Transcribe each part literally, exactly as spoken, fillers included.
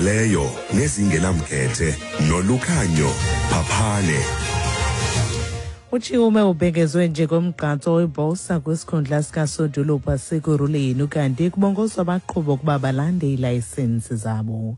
Leyo nezingenamkhethe noLukhanyo Phaphane. UChiume ubhengezwe njengomgqatswa weBOSA kwisikhundla sikasodolophu waseKurhuleni, ukanti kubongozwa abaqhubi ukuba balande iilayisensi zabo.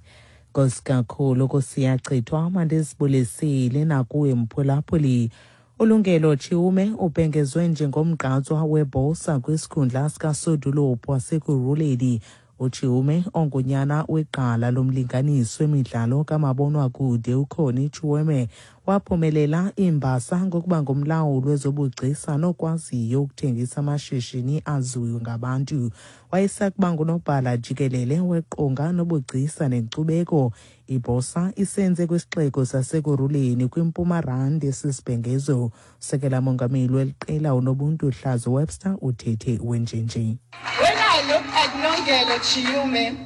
Nkosi kakhulu kusiyachithwa, mandizibulisile nakuwe mphulaphuli. ULungelo Chiume ubhengezwe njengomgqatswa weBOSA kwisikhundla sikasodolophu waseKurhuleni. UChiume, ongunyana wegqala lomlinganiso wemidlalo kamabonwakude uConnie Chiume, waphumelela iimbasa ngokuba ngumlawuli wezobugcisa nokwaziyo ukuthengisa amashishini aziwe ngabantu. Wayesakuba ngunobhala jikelele weqonga nobugcisa nenkcubeko. IBOSA isenze kwisixeko saseKurhuleni kwiMpuma Randi esisibhengezo. Usekela mongameli weli qela uNobuntu Hlazo Webster uthethe wenjenje. When I look at Lungelo Chiume,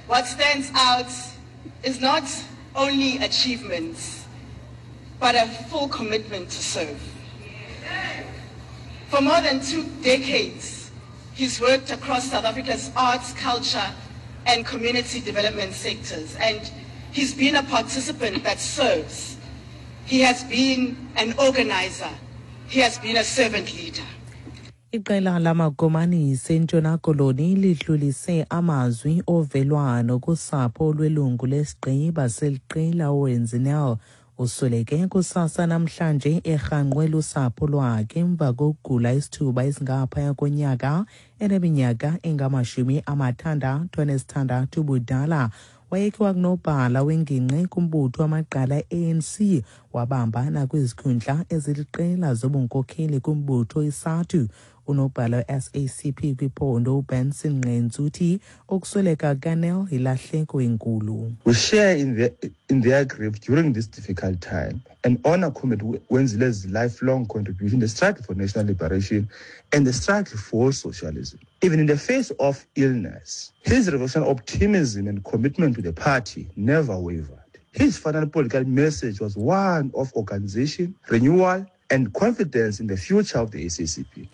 what stands out is not only achievements, but a full commitment to serve. For more than two decades, he's worked across South Africa's arts, culture, and community development sectors, and he's been a participant that serves. He has been an organizer. He has been a servant leader. Iqela lamakomanisi eNtshona Koloni lidlulise amazwi ovelwano kusapho lwelungu lesigqiba seliqela uWenzi Nel. Usweleke kusasa namhlanje erhangqwe lusapho lwakhe emva kokugula isithuba esingaphaya konyaka eneminyaka engamashumi amathandathu anesithandathu ubudala. Wayekhe wakunobhala wengingqi kumbutho wamagqala A N C, wabamba nakwizikhundla eziliqela zobunkokheli kumbutho iSADTU. Unobhala we-S A C P kwiphondo uBenson Nqentsu uthi ukusweleka kaNel yilahleko enkulu. We share in, the, in their grief during this difficult time and honor Comrade Wenzile's lifelong contribution to the struggle for national liberation and the struggle for socialism. Even in the face of illness, his revolutionary optimism and commitment to the party never wavered. His final political message was one of organization, renewal, and confidence in the future of the S A C P.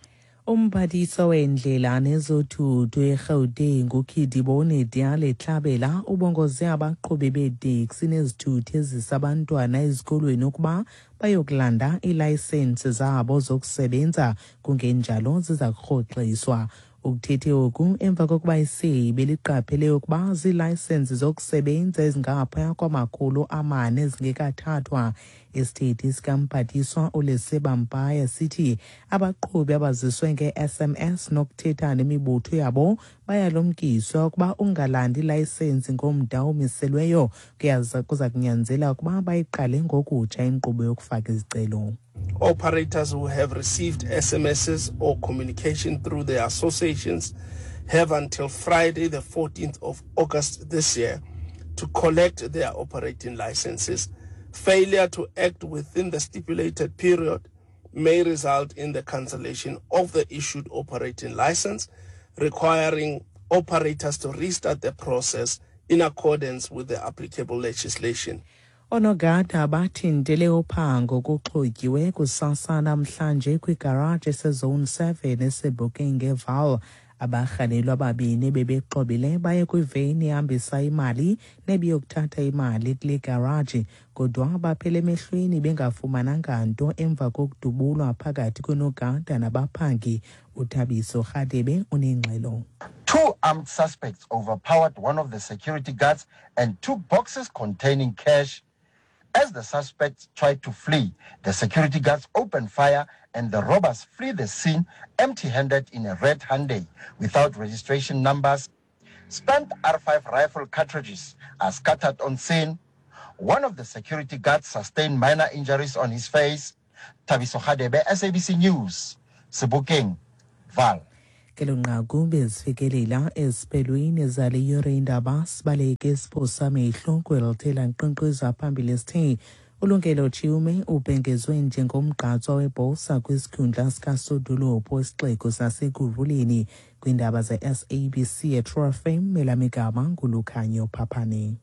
Umphathiswa wendlela nezothutho eGauteng uKedibone Diale Tlabela ubongoze abaqhubi beeteksi nezithuthi ezisa abantwana ezikolweni ukuba bayokulanda iilayisensi zabo zokusebenza, kungenjalo ziza kurhoxiswa. Ukuthethe oku emva kokuba isebe liqaphele ukuba ziilayisensi zokusebenza ezingaphaya kwamakhulu amane ezingekathathwa. Isithethi sikamphathiswa uLesiba Mpaya sithi abaqhubi abaziswe nge-S M S nokuthetha nemibutho yabo bayalumkiswa ukuba ungalandi ilayisensi ngomda omiselweyo kuza kunyanzela ukuba bayiqale ngokutsha inkqubo yokufaka izicelo. Operators who have received S M Ss or communication through their associations have until Friday, the fourteenth of August this year, to collect their operating licenses. Failure to act within the stipulated period may result in the cancellation of the issued operating license, requiring operators to restart the process in accordance with the applicable legislation. Oonogada bathintele uphango kuxhotyiwe kusasa namhlanje kwigaraji eseZone seven eSebokeng eVaal. Abarhanelwa ababini bebexhobile baye kwiveni ehambisa imali nebiyokuthatha imali kule garaji, kodwa baphela emehlweni bengafumananga nto emva kokudubulwa phakathi konogada nabaphangi. UThabiso Rhadebe unengxelo. Two armed suspects overpowered one of the security guards and took boxes containing cash. As the suspects tried to flee, the security guards opened fire and the robbers flee the scene empty-handed in a red Hyundai without registration numbers. Spent R five rifle cartridges are scattered on scene. One of the security guards sustained minor injuries on his face. Thabiso Hadebe, S A B C News, Sebokeng, Vaal. Kelo nqaku bezifikelela eziphelweni zale yure indaba. Sibaleke isiphosa amehlo kwelithela nkqenkqeza phambili sithe uLungelo Chiume ubhengezwe njengomgqatswa weBOSA kwisikhundla sikasodolophu wesixeko saseKurhuleni. Kwiindaba ze-S A B C eTru F M, elamigama nguLukhanyo Phaphane.